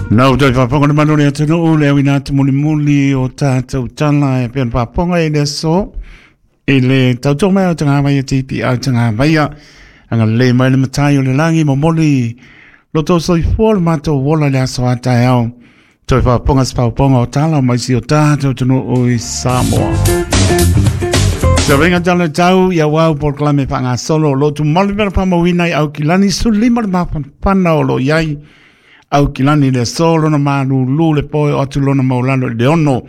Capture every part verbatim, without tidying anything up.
Nau toi whaponga na manore atunuu le awina atu muli muli o tātou tala e pēn whaponga i le so i le tautoa mai o tanga mai e T P au tanga mai anga le mai le matai o le langi momoli loto soifua le matou wola le aso a taeao toi whaponga se whaponga o tala mai si o tātou atunuu i Samoa. Sa venga tala tau ia wau polokalame whangasolo lotu malu mera pamawina i au kilani sulima le mapanapana o lo iai au kilani le solo na malulu le poe o atu lona maulalo le ono.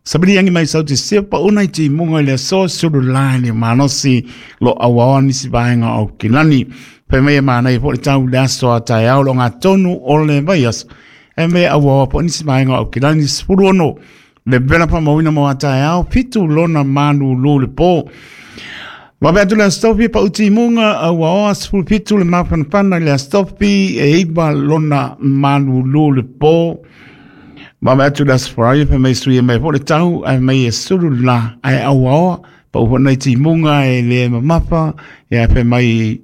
Sabili yangi mai sauti sepa una i ti munga i le so sulu lai le manosi lo awawa nisi vaenga au kilani. Pe mea mana i po le tau le aso a tae au lo ngā tonu o le vaias. E mea awawa po nisi vaenga au kilani sifuru ono. Le bela pa mawina mo a tae au pitu lona malulu le po. Wawe atu le astopi pa uti munga au aoa sifuru pitu le mapanapana le astopi e iba lona malulu le po. Wawe atu le asforai pe mei sui e mei po le tau ai mei e sulu la ai au aoa pa upo nei ti munga e le mamapa e pe mai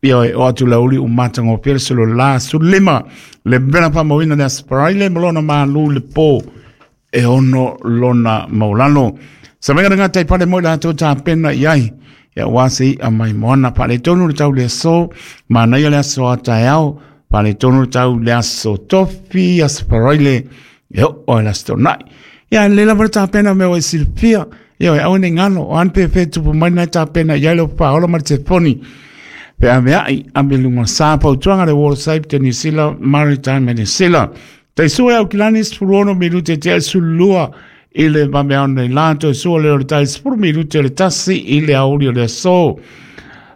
ia e o atu le uli umatango pere sulu la sulu lima le bela pa mawina le asforai le malona malu le po e ono lona maulano. Sa menga ngā tai pare moi la tō tā pena i ai. Ia wasi a mai moana pale tonu le tau le aso, manaia le aso a taeao, pale tonu le tau le aso tofi, asparoile, e o o le aso nai. Ia le lava le tā pena mea o e silpia, ia o e au ne ngalo, o anpe fe tupu mai nai tā pena i ailo paola ma te poni. Pe a mea ai, a me lunga sa pautuanga le World Safe te New Zealand, Maritime and New Zealand. Te sua au kilani sfuruono minute te sulua i le mame nei lanto sua le o le tai sifuru minute le tasi i le auli o le aso.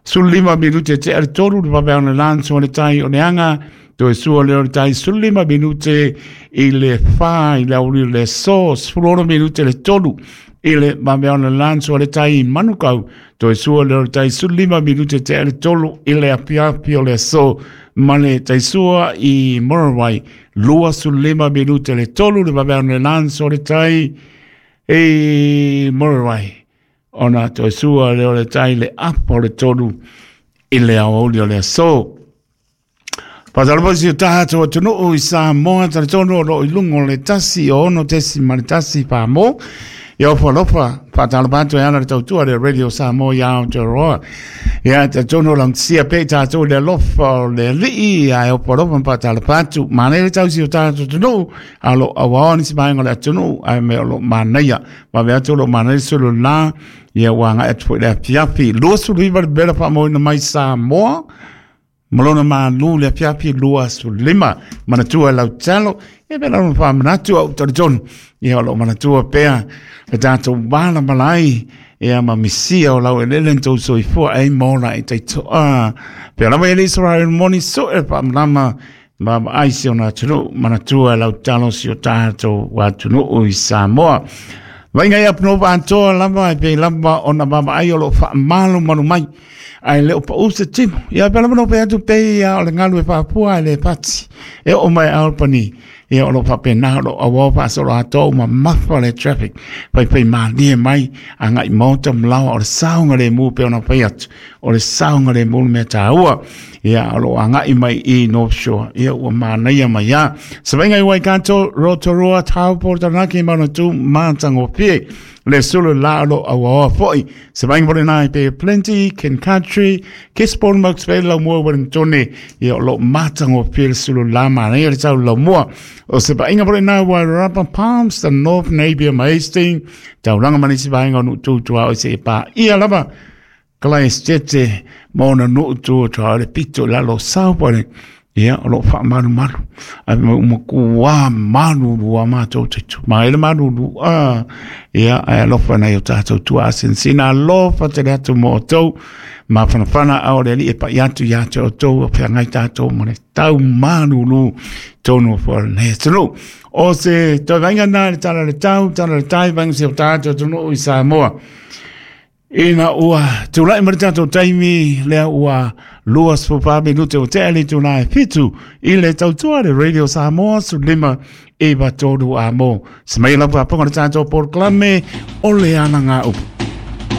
Sulima minute te ale toru le mame nei lanto le tai o neanga toe sua le o le tai sulima minute i le wha i le auli o le aso. Sifuru ono minute le toru i le mame nei lanto le tai manukau toe sua le o le tai sulima minute te ale toru i le apiapi o le aso. Male tai sua i Morawai lua sulima minute le tolu le mame nei lanto le tai e Morawai ona toe sua le o le tai le apo le tolu i le aoli o le aso. Patalapa si o tahato atunuu i Samoa talitonu o lo i lungo le tasi o ono tesi ma le tasi pāmo. Ia ofa lofa, patalapa atu e ana le tautua le Radio Samoa i Aotearoa. Ia talitonu o langsia pe tātou le alofa o le alii a e ofa lofa patalapa atu. Manaia le tausi o tahato atunuu a lo awaoni si maenga le atunuu a me o lo manaia. Wawe atu o lo manaia sulu la ia wanga atu foi le apiapi. Lua sulu iwa le bela whaamoina mai Samoa. Malona malu le apiapi lua sulima. Manatua lau talo. Ia pera ono wha manatua o taritonu. Ia o lo manatua pea. Le tātou wala malai. Ia ma misia o lau elele tau soifua e mola e taitoa. Pea lava ele Israel moni so e wha mlama. Ma ai si ona atunu. Manatua lau talo si o tātou atunuu i Samoa. Vainga ia pnopa antoa lava e pe lava ona mama ai o lo wha malu manu mai. Ai le opa use timo. Ia pela mano pe atu pe ia o le ngalu e whapua e le pati. E o mai Albany. Ia o lo whapena lo awa whaasolo ato ma mafa le traffic. Pai pai mālie mai a ngai mauta mlawa o le saunga le mu pe ona pai atu. O le saunga le mu mea tāua. Ia o lo angai mai i North Shore. Ia ua mānaia mai ia. Savenga i Waikato, Rotorua, Taupo, Taranaki, Manatu, Mātango Pie. Le sulu la lo awa foi. Savenga pole nai pe Plenty, Ken Country, Gisborne, Marks Vale, Laumua, Wellingtone. Ia o lo mātango pie le sulu la mānaia le tau laumua. O se painga pole nai Wairarapa, Palmerston, North, Napier, Hastings. Tauranga manisi vaenga o nuututua o se e pā ia lava. Kalai stete maona nuutua tua le pito lalo saupale. Ia o lo wha malu malu. Ai ma umakua malu lua mātou teitu. Maele malu lua. Ia ai alofa nei o tātou tua asensina. Alofa te le atu mo o tau. Ma whanawhana au le li e pai atu ia te o tau. O pea ngai tātou mo le tau malu lu. Tonu fo le tunu. O se toi vainga nā le tala le tau. Tala le tai vainga se o tātou tunu i Samoa. Ina ua tūlai mara tātou taimi lea ua lua sfupa minute o te ali tūlai fitu i le tautua le Radio Samoa su lima e tolu a mo. Se mai lapa ponga le tātou polokalame o le ana ngā upu.